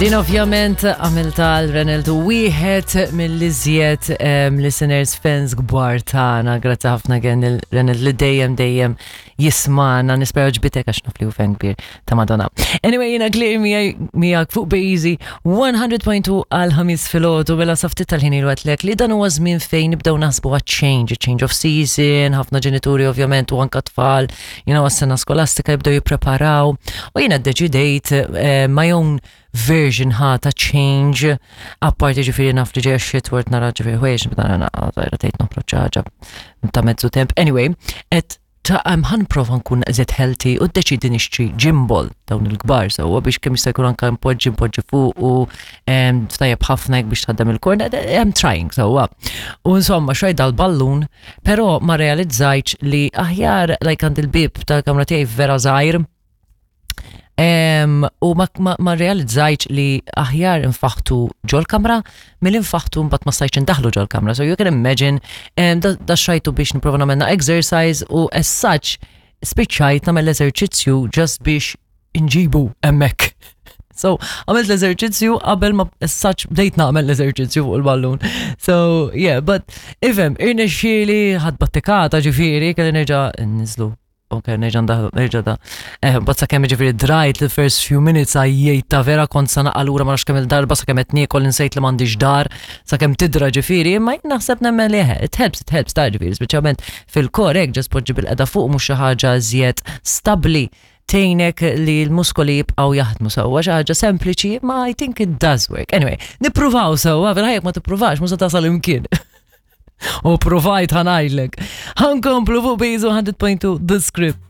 Din ovvjament għamilta l-Renald wieħed mill-iżjed listeners fans kbar tagħna. Grazzi ħafna gen il-Renald li dejjem dejjem jismana, nispera ġbitek għax naf li hu fan kbir ta' Madonna. Anyway, jiena Claire miegħek fuq Bejzi 100.2 għal ħamis filgħodu mela sa ftit tal-ħin ilu għedtlek li dan huwa żmien fejn nibdew naħsbu għat change, change of season, ħafna ġenituri ovvjament u anka tfal, you know, għas-sena skolastika jibdew jippreparaw. U jiena ddeċidejt eh, my own version ħa ta' change, apparti ġifieri naf li ġejja xitward nara ġifieri ħwejjeġ nibda nara tgħid noħroġ ħaġa ta' mezzu temp. Anyway, et ta' ħan prova nkun eżed healthy u ddeċidi nixtri gym ball dawn il-kbar sewwa biex kemm jista' jkun anke npoġġi npoġġi fuq u tajjeb ħafna hekk biex tħaddem il-korn, I'm trying sewwa. U insomma xrajt dal-ballun, però ma realizzajtx li aħjar like għand il-bib tal-kamra tiegħi vera żgħir U ma, ma, ma realizzajtx li aħjar infaħtu ġol-kamra mill infaħtu mbagħad ma stajtx indaħlu ġol-kamra. So you can imagine da, da xrajtu biex nipprova nagħmelna exercise u as such spiċċajt nagħmel l-eżerċizzju just biex inġibu hemmhekk. So, għamilt l-eżerċizzju qabel ma as such bdejt nagħmel l-eżerċizzju fuq il-ballun. So, yeah, but ifhem, irnexxieli ħadd battikata ġifieri kelli nerġa' nniżlu Ok, nerġa' ndaħlu, nerġa' da. Eh, bat sakemm ġifieri drajt the first few minutes għajjejt ta' vera kont sa naqalura ma nafx kemm il-darba sakemm qed niekol insejt li m'għandix dar, sakemm tidra ġifieri, imma jien naħseb nemmen li eh, it helps, it helps ta' ġifieri, speċjalment fil-kor hekk ġas poġġi bil-qeda fuq mhux xi ħaġa iżjed stabbli tgħinek li l-muskoli jibqgħu jaħdmu sewwa xi ħaġa sempliċi, ma I think it does work. Anyway, nippruvaw sewwa, fil-ħajja ma tippruvax mhux se tasal imkien. U provajt ħanajdlek. Ħankomplu fuq Bizu 100.2 The Script.